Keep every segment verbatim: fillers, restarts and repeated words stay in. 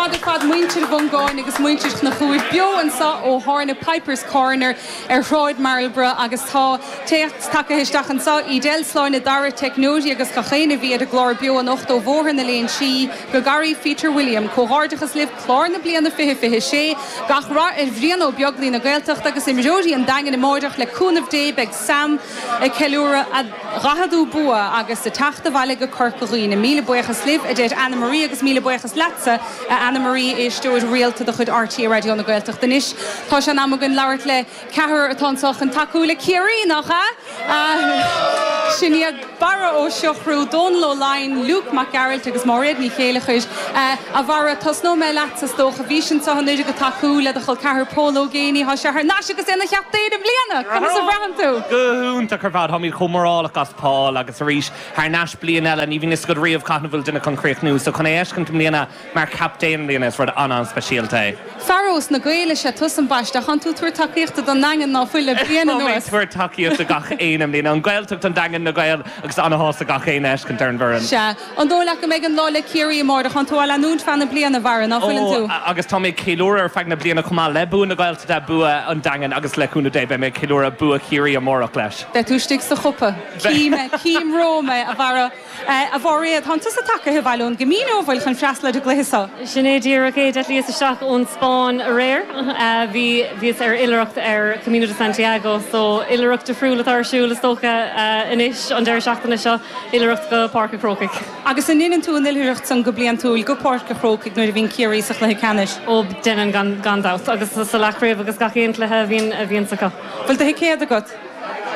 maith ar fad muintir Mhongáin agus muintir Chnoc Uaimh beo anseo ó thábhairne Pipers Corner ar Shráid Marlborough agus tá téacs tagtha isteach anseo Edel Sláine Dara Technoti agus gach éinne a bhí ar an gclár beo anocht ó Bhóthar na Léinsí go Gary Peter William comhghairdeachas libh clár na bliana fiche fiche sé gach rath ar Bhrian Ó Beaglaoich na Gaeltachta agus imreoirí an Daingin amárach le cúnamh Dé beidh Sam ag ceiliúradh a dhaicheadú bua agus ag teacht abhaile go Corca Dhuibhne. Míle buíochas libh a deir Anna Marie agus míle buíochas leatsa a Anna Marie éisteoir rialta de chuid RTÉ Raidió na Gaeltachta anois. Tá sé in am againn labhairt le ceathrar atá anseo chun tacú le Ciarraí nach ea? Sin iad Barra Ó Siochrú, Dónal Ó Laighin, Luke Mac Gearailt agus Máiréad Ní Chéileachair a Bharra tosnóidh mé leat is dócha bhís anseo anuraidh ag tacú le do chol ceathar Pól Ó Géibheannaigh tá sé thar n-ais agus ina chaptaen i mbliana Conas a bhraitheann tú? Go hiontach ar fad táimid chomh mórálach as Paul agus arís thar n-ais bliain eile ní bhíonn a fhios agat riamh cathain a bhfuil duine chun críochnú, so chun é a fheiscint i mbliana mar captaen i mbliana is rud an-an-speisialta é. Fear ós na Gaeil is ea tusa ambaiste tánn tú ag tabhairt tacaíochta don Daingean ná fuil le bliain Tá mé anuas. tabhairt tacaíochta gach aon i mbliana an Ghaeltacht an Daingean na Gaeil agus an-shásta gach aon a fheiscint ar an bhfoireann. Sea, an dóigh leat go mbeidh an lá le Ciarraí amárach tánn tú á leanúint feadh na bliana Bharra ná fuileann tú. agus tá mé ag ceiliúradh ar feadh na bliana chomh maith le bua na Gaeltachta bua an Daingin agus le cúnamh Dé beidh mé ag ceiliúradh bua Chiarraí amárach leis. Beidh tú istigh sa chupa. Cím cím romham é a Bharra a Mháiréad tánn tusa tagtha abhaile ón gCamino bhfuil chun freastal ar an gcluiche seo. Sin é díreach é d'eitlíos isteach ón Spáinn aréir bhí bhíos ar oilithreacht ar Camino de Santiago, so oilithreacht difriúil atá ar siúl is dócha anois an deireadh seachtaine seo oilithreacht go Páirc an Chrócaigh. Agus an ndéanann tú an oilithreacht san go bliantúil go Páirc an Chrócaigh nuair a bhíonn Ciarraí sa chluiche ceannais. Ó déanaim gan gan dabht agus sa leathchraobh agus gach aon chluiche a bhíonn a bhíonn acu. Bhfuil do thicéad agat?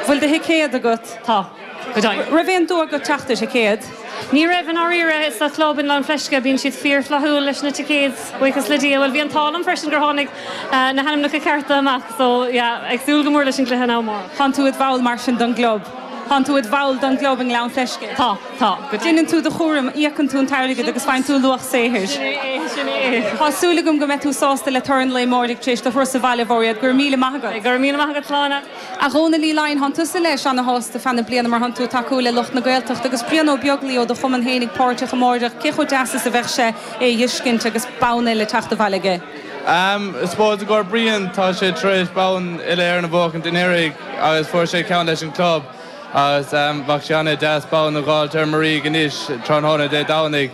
Bhfuil do thicéad agat? Tá go deimhin. Raibh aon dua agat teacht ar thicéad? Ní raibh in áiríre sa chlub in Gleann Fleisce bíonn siad fíorfhlaithiúil leis na ticéid buíochas le Dia, well bhí an t-ádh liom freisin gur tháinig na hainmneacha cearta amach, so yeah, ag súil go mór leis an gcluiche ná amárach. Tánn tú i do bhall mar sin don gclub. Tánn tú i do bhall don gclub i nGleann Fleisce. Tá tá go Déanann tú do chúram íocann tú an t-airgead agus faigheann tú luach saothair. Sin é sin é. Tá súil agam go mbeidh tú sásta le toradh an lae amárach tar éis do thuras abhaile Mháiréad go raibh míle maith agat. Go raibh míle maith agat Sláine. A Dhónaill Uí Laighin tánn tusa leis an-shásta feadh na bliana mar tánn tú ag tacú le lucht na Gaeltachta agus Brian Ó Beaglaoich ó do chumann féinig páirteach amárach cé chomh deas is a bheadh sé é a fheiscint agus bonn eile teacht abhaile aige. Um, is spóid gur Brian tá sé tar éis bonn uile-Éireann a bhuachan anuraidh agus fuair sé ceann leis an club agus um, bheadh sé an-deas bonn a fháilt ar Marie anois tráthnóna Dé Domhnaigh.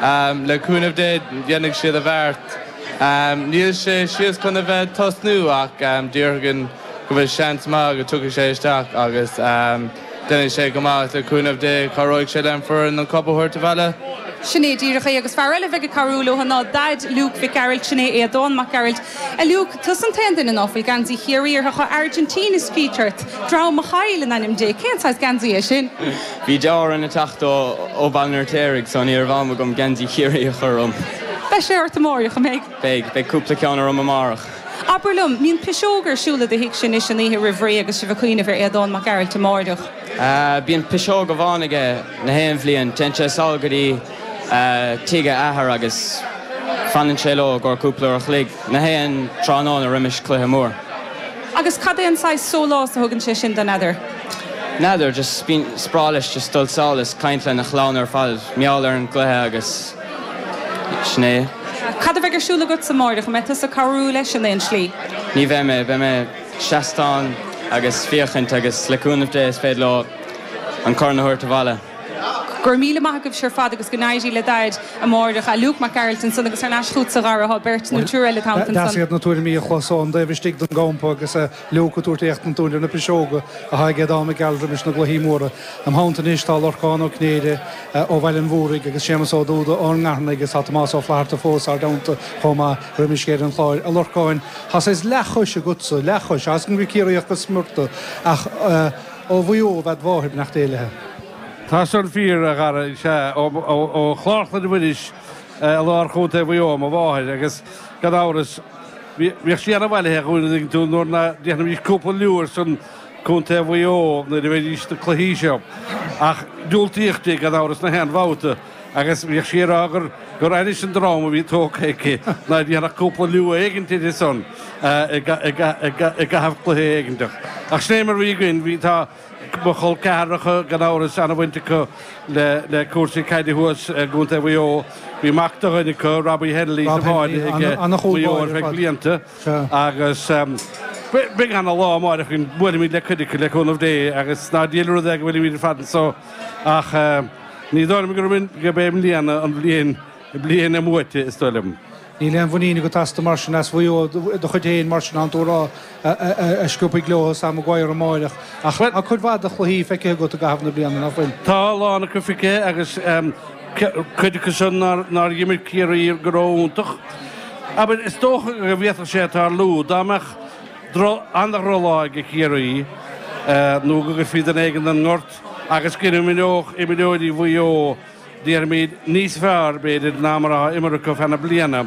Um, le cúnamh Dé dhéanfaidh siad a bheart. Um, níl sé síos chun a bheith tosnú ach um, déarfainn go bhfuil seans maith go dtiocfaidh sé isteach agus um, déanfaidh sé go maith le cúnamh Dé cabhróidh sé le foireann an cup a thabhairt abhaile. Sin é díreach é agus fear eile bheith ag cabhrú leo ná Daid Luke Mhic Gearailt sin é Aodán Mac Gearailt. A Luke tusa an t-aon duine ná fuil geansaí Chiarraí ort tá Argentina scríte ort, Dream a chaill in ainm Dé, cén saghas geansaí é sin? Bhí deartháir ag teacht ó ó Bhaile an Fheirtéaraigh so ní raibh am agam geansaí Chiarraí a chur orm. Beidh sé ort amárach an mbeidh. Beidh beidh cúpla ceann orm amárach. Abair liom, mbíonn piseog ar siúl i do theach sin is an oíche roimh ré agus sibh ag cuimhneamh ar Aodán Mac Gearailt amárach. Uh, bíonn piseog amháin aige na haon bhliain, téann sé sall go dtí uh, tigh a athar agus fanann sé leo gur cúpla uair a chloig na haon tráthnóna roimis cluiche mór. Agus cad é an saghas sólás a thugann sé sin don fheadar? N'fheadar just bíonn is breá leis just dul sall is caint lena chlann ar fad mar gheall ar an gcluiche agus sin é. Cad a bheidh ar siúl agat amárach an mbeidh tusa ag cabhrú leis in aon slí. Ní bheidh mé beidh mé seastán agus féachaint agus le cúnamh Dé is féidir leo an corn a thabhairt abhaile. Gur míle maith agaibh ar fad agus go n-éirí le Daid amárach a Luke Mac Gearailt ansan agus ar ais chugatsa a Dhara tá beirt nó triúr eile ansan. Deas iad na tuairimí a chlos ón dtaobh istigh den gcampa agus Luke ag tabhairt éachtaint dúinn ar na piseoga atá ag Aodán Mac Gearailt roimis na gcluichí móra. Im theannta anois tá Lorcán Ó Cinnéide ó Bhaile an Mhúraigh agus Séamus Ó Dúda ón nGartnaigh agus tá Tomás Ó Flatharta fós ár dteannta chomh maith roimis ar an chlár a Lorcáin. Tá sé leathchois agatsa leathchois as an go Ciarraíoch go smior tú ach ó Mhaigh Eo bhead mháthair nach déile. Tá san fíor a Dhara sé ó Chlár Chlainne Mhuiris i lár Chontae Mhaigh Eo mo mháthair agus gan amhras bhíodh sí an-bhailithe chuaigh tú nuair na déanaimis cúpla liú ar son Contae Mhaigh Eo nuair a bheidís na cluichí seo. Ach diúltaíodh di gan amhras na haon bhabhta agus bhíodh sí ag rá gur gur ainnis an dream a bhí tógtha aici ná déanfadh cúpla liú éigin ar son i gcaitheamh cluiche éiginteach. Ach sin é mar bhí againn bhí tá Mo chol ceathracha gan amhras an-bhaint acu le le cúrsaí caide thuas i gContae Mhaigh Eo. Bhí mac de dhuine acu, Robbie Hennelly sa bháide ag Maigh Eo ar feadh blianta agus beidh ana lá amárach againn, buailfimid le cuid acu le cúnamh Dé agus ná diail rud é go bhfuilimid ar fad anso ach ní dóigh liom gurb é i mbliana an bhliain bliain a mbuaite is dóigh liom. Níl aon mhuinín agat astu mar sin, as Mhaigh Eo do chuid féin mar sin, an tú a rá a sciobfaidh leo Sam Maguire amáireach. Ach tá cuid mhaith de chluichí feicthe agat i gcaitheamh na bliana, nach bhfuil? Tá a lán acu feicthe agus cuid acu san nár dh'imir Ciarraí go ró-iontach. Abair, is dócha go bhféadfadh sé tarlú dá mbeadh an-drochlá ag Ciarraí nó go gcuirfí duine éigin don ngort agus go n-imreodh imreoirí Mhaigh Eo déarfaimid, níos fearr, b'fhéidir, ná mar atá imeartha acu feadh na bliana,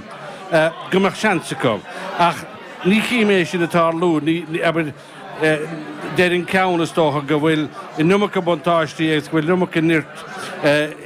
go mbeadh seans acu. Ach ní chím é sin ag tarlú. Ní, abair, deir an ceann, is dócha, go bhfuil an iomarca buntáistí agus go bhfuil an iomarca nirt